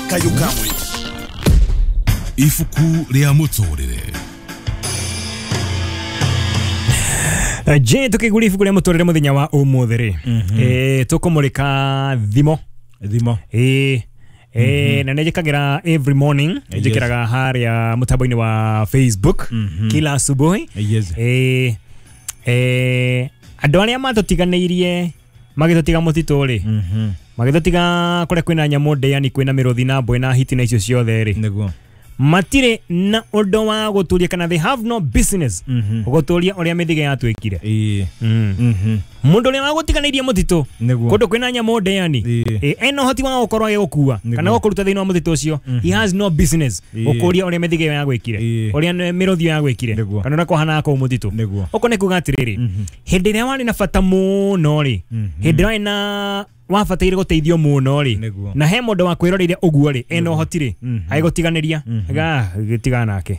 Kayũ kamwe. Ibuku rĩa mũtũrĩre. Je, tukigura ibuku rĩa mũtũrĩre mũthenya wa ũmũthĩ rĩ, tũkũmũrĩka thimo. Thimo. Na nĩnjĩkagĩra every morning, njĩkĩraga harĩa mũtambo-inĩ wa Facebook kila asubuhi. Andũ arĩa matũtiganĩirie magĩtũtiga mũtitũ rĩ, magĩtũtiga kũrĩa kwĩna nyamũ ndĩani, kwĩna mĩrũthi na mbwe na hiti na icio ciothe rĩ, Nĩguo. matirĩ na ũndũ wa gũtũria kana they have no business gũtũria ũrĩa mĩthige yatuĩkire. Mũndũ ũrĩa wagũtiganĩirie mũtitũ Nĩguo. kũndũ kwĩna nyamũ ndĩani, ena ũhoti wa gũkorwo agĩgũkua kana gũkũruta thĩinĩ wa mũtitũ ũcio, he has no business gũkũria ũrĩa mĩthige ĩyo yagwĩkire, ũrĩa mĩrũthi ĩyo yagwĩkire, kana ũrĩa kwahanaga kũu mũtitũ. Nĩguo. Ũguo nĩ kuga atĩrĩrĩ, hĩndĩ ĩrĩa warĩ na bata mũno rĩ, hĩndĩ ĩrĩa warĩ na wabataire gũteithio mũno rĩ, Nĩguo. na he mũndũ wa kwĩroreire ũguo rĩ, ena ũhoti rĩ, agĩgũtiganĩria gĩtigana nake.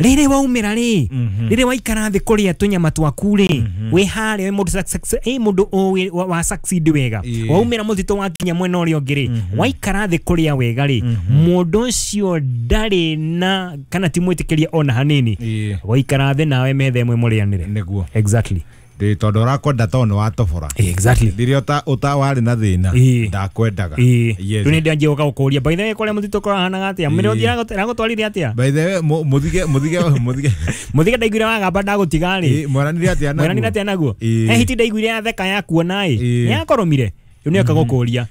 Rĩrĩ waumĩra rĩ, rĩrĩ waikara thĩ kũrĩa tũnyama twaku rĩ, wĩ harĩa wĩ mũndũ mũndũ ũĩ wa succeed wega, waumĩra mũtitũ wakinya mwena ũrĩa ũngĩ rĩ, waikara thĩ kũrĩa wega rĩ, mũndũ ũcio ndarĩ na kana ti mwĩtĩkĩrie ona hanini, waikara thĩ nawe metha ĩmwe mũrĩanĩre. Nĩguo. Exactly. Ndĩ tondũ ũrakwenda tondũ nĩ watobora. Exactly. Rĩrĩa ũta warĩ na thĩna, ndakwendaga. Yes. Rĩu nĩ ndanjia gũka gũkũria, by the way, kũrĩa mũtitũ kũrahanaga atĩa? Mĩrũthi ĩragũtwarire atĩa? By the way, mũthige mũthige mũthige. Mũthige ndaiguire wagamba ndagũtiga rĩ. Mwaranire atĩa naguo? Mwaranire atĩa naguo? He hiti ndaiguire yatheka yakuona ĩ. Nĩ yakũrũmire. Rĩu nĩ oka gũkũria.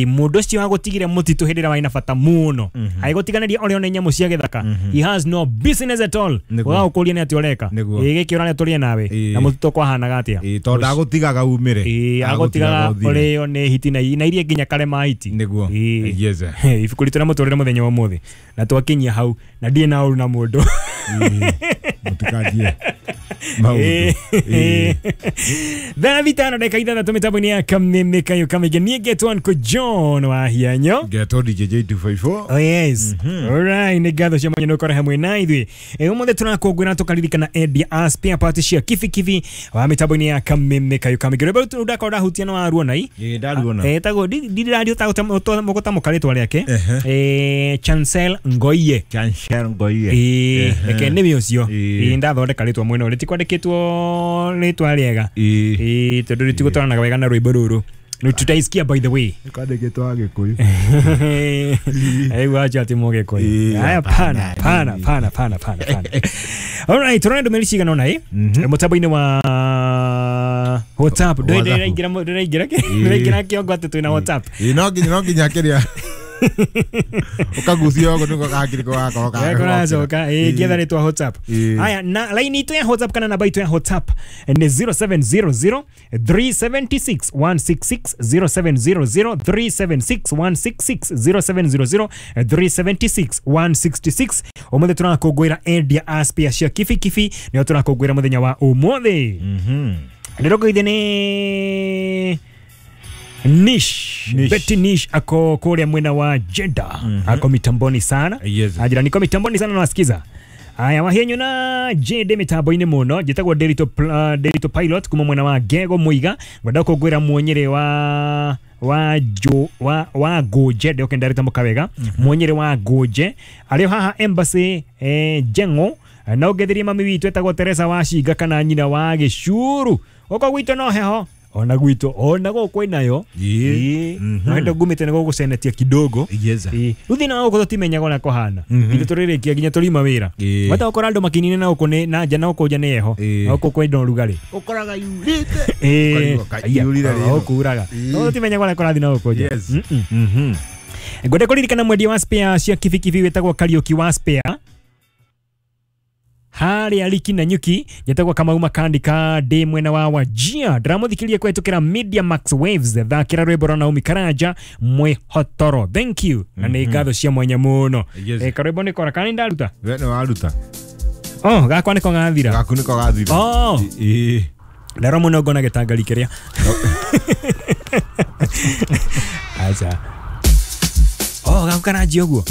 Mũndũ ũcio wagũtigire mũtitũ hĩndĩ ĩrĩa warĩ na bata mũno, agĩgũtiganĩria ũrĩa one nyamũ cia gĩthaka, he has no business at all. Nĩguo. Ũga gũkũria nĩ atĩa ũreka. Nĩguo. Gĩkĩ ũrarĩa tũrĩe nawe. Na mũtitũ kwahanaga atĩa? Tondũ ndagũtigaga umĩre. Agũtigaga ũthire. ũrĩo nĩ hiti na iria nginya karema hiti. Nĩguo. Yes. Ibuku ritũ rĩa mũtũrĩre mũthenya wa ũmũthĩ na twakinyia hau na ndirĩ na ũru na mũndũ. Mũtikanjie maũndũ. Thaa 5 ndagĩka 6 mĩtambo-inĩ ya Kameme Kayũ Kamĩingĩ. Niĩ ngetwo Uncle John wa Hianyo. Ngetwo DJ J254. Oh yes. Alright, nĩ ngatho cia mwanya nĩ ũkorwo hamwe na ithuĩ. Ũmũthĩ tũrakũngũĩra tũkaririkana endia a spare part cia kibikibi wa mĩtambo-inĩ ya Kameme Kayũ Kamĩingĩ. Rwĩmbo rũu ndakorwo ndahutia nĩ waruona i? Ndaruona. Etagwo ndirario mũgũtamũka rĩtwa rĩake. Chancel Ngoiye. Chancel Ngoiye. Reke nĩwe ũcio. Ndathondeka rĩtwa mwena ũrĩa rĩtikwandĩkĩtwo rĩtwa rĩega. Tondũ rĩtigũtwaranaga wega na rwĩmbo rũrũ. Nĩ tutaisikia by the way. Kwandĩkĩtwo Agĩkũyũ. Rĩu acha ati Mũgĩkũyũ. Haya, pana, pana, pana, pana, pana, pana. Alright, tũrona ndũmĩrĩri cigana ũna ĩ mũtambo-inĩ wa WhatsApp. Ndĩraingĩra ndĩraingĩra ndĩraingĩra kĩongo atĩ twĩna WhatsApp. No nginya kĩrĩa ũkagucia ũguo nĩguo gakiri gakorwo karacoka. Ngĩetha rĩtwa WhatsApp. Haya, na line itũ ya WhatsApp kana namba itũ ya WhatsApp nĩ 0700 376 166, 0700 376 166, 0700 376 166. Ũmũthĩ tũrakũngũĩra endia a spare cia kibikibi, nĩo tũrakũngũĩra mũthenya wa ũmũthĩ. Ndĩrokũithia nĩ Nish. Betty Nish ako kule mwena wa Jeddah. Ako mitamboni sana. Ajira niko mitamboni sana nawasikiza. Aya wahenyu na JD mitambo-inĩ mũno njĩtagwo Derito Pilot kuma mwena wa Gego Muiga ngwenda kũngwĩra mwonyere wa wa Goje ndio kendarita mukawega mwonyere wa Goje arĩ haha embassy Jengo na ũngethirie mami witũ etagwo Teresa wa Cinga kana nyina wa Gĩcuru gũkũ gwitũ no heho ona gwitũ ona gũkũ inayo no ndo ngumĩte nĩ gũgũcenetia kidogo. Rĩu thĩna wa gũkũ tũtimenyaga ũrĩa kũhana ithuĩ tũrĩrĩkia nginya tũrima wĩra wata ũkora andũ makinine na gũkũ nĩ na nja na gũkũ nja nĩ heho na gũkũ kwĩna ũrugarĩ ũkoraga yurĩte ũkuraga no tũtimenyaga ũrĩa kũrathiĩ na gũkũ nja. Ngwenda kũririkana mwendia wa spare cia kibikibi wĩtagwo Kariũki wa spare harĩa Liki na Nyuki njetagwo Kamau Makandika ndĩ mwena wa Wajia ndĩramũthikĩria kũhetũkĩra Media Max Waves thakĩra rwĩmbo rwa Naomi Karanja mwĩhotoro. Thank you na nĩ ngatho cia mwanya mũno. Karwĩmbo nĩ kora kana nĩ ndaruta? We nĩ waruta. Oh, gakwa nĩko gathira. Gaku nĩko gathira. Oh. Ndaro mũno ngona gĩtangari kĩrĩa. Acha. Oh, gaku karanjia ũguo.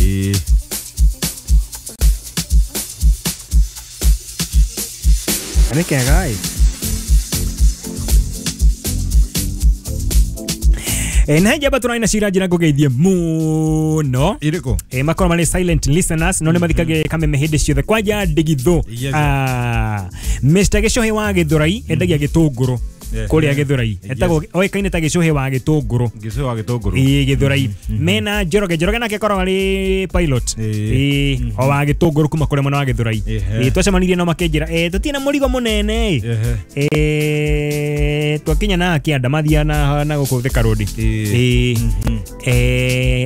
Nĩ kega ĩ. Na njamba tũrarĩ na cira njĩra ngũgeithie mũno. Irĩkũ? Makorwo marĩ silent listeners no nĩ mathikagĩrĩria Kameme hĩndĩ ciothe kwanja ndigithũ. Yes. Mr. Gĩcũhĩ wa Gĩthũrai endagia gĩtũngũrũ kũrĩa Gĩthũrai, etagwo oĩkaine ta Gĩcũhĩ wa gĩtũngũrũ. Gĩcũhĩ wa gĩtũngũrũ. Ĩĩ, Gĩthũrai. Mena Njoroge, Njoroge nake akoragwo arĩ pilot. Ĩĩ, o wa gĩtũngũrũ kuma kũrĩa mwena wa Gĩthũrai. Ĩĩ, twacemanirie no makĩnjĩra tũtirĩ na mũrigo mũnene. Twakinya na kĩanda mathia na gũkũ Thika Road. Ĩĩ.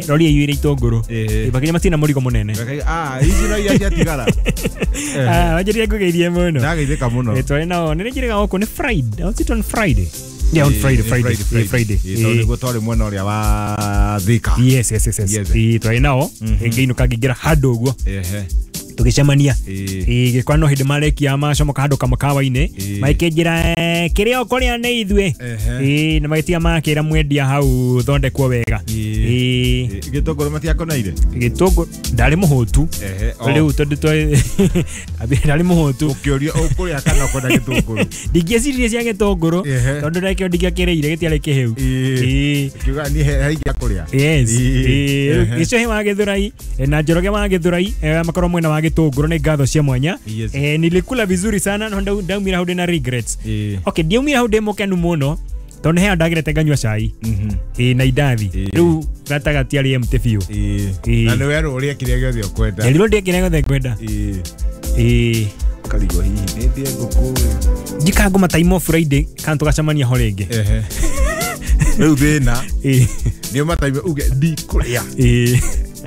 Rori ĩiyũire itũngũrũ. Makinya matirĩ na mũrigo mũnene. Ici no iria ciatigara. Wanjĩrire ngũgeithie mũno. Ndageithĩka mũno. Twarĩ nao, nĩ njĩrĩga gũkũ nĩ Friday. Was it on Friday? Yeah, on Friday, Friday. Friday. Tondũ nĩguo twarĩ mwena ũrĩa wa Thika. Yes. Twarĩ nao, ngĩinũka ngĩingĩra handũ ũguo. Tũgĩcemania. Gĩkora no hĩndĩ marekia macomoka handũ kamũkawa-inĩ, makĩnjĩra kĩrĩa ũkũrĩa nĩ ithuĩ. Na magĩtiga makĩra mwendia hau thondekwo wega. Gĩtũngũrũ matiakoneire? Gĩtũngũrũ ndarĩ mũhũtu. Rĩu tondũ ndarĩ mũhũtu. Ũkĩũria ũkũrĩa kana ũkwenda gĩtũngũrũ? Ndingĩeciririe cia gĩtũngũrũ tondũ ndakĩo ndingĩakĩrĩire gĩtiarĩ kĩhĩu. Ũkiuga niĩ he ingĩakũrĩa. Yes. Gĩcũhĩ wa Gĩthũrai na Njoroge wa Gĩthũrai makorwo mwena wa gĩtũngũrũ nĩ ngatho cia mwanya. Nilikula vizuri sana no ndaumira hau ndĩna regrets. Okay, ndiaumira hau ndĩ mũkenu mũno tondũ he ndagĩrete nganyua cai. Na indathi. Rĩu gatagatĩ arĩ empty biũ. Na nĩ werwo ũrĩe kĩrĩa gĩothe ũkwenda. Nderirwo ndĩe kĩrĩa gĩothe ngwenda. Karigwo hihi nĩ ndĩe ngũkũ. Njikanga mataimo Friday kana tũgacemania ho rĩngĩ. Rĩu thĩna nĩ mataime uge ndikũrĩa.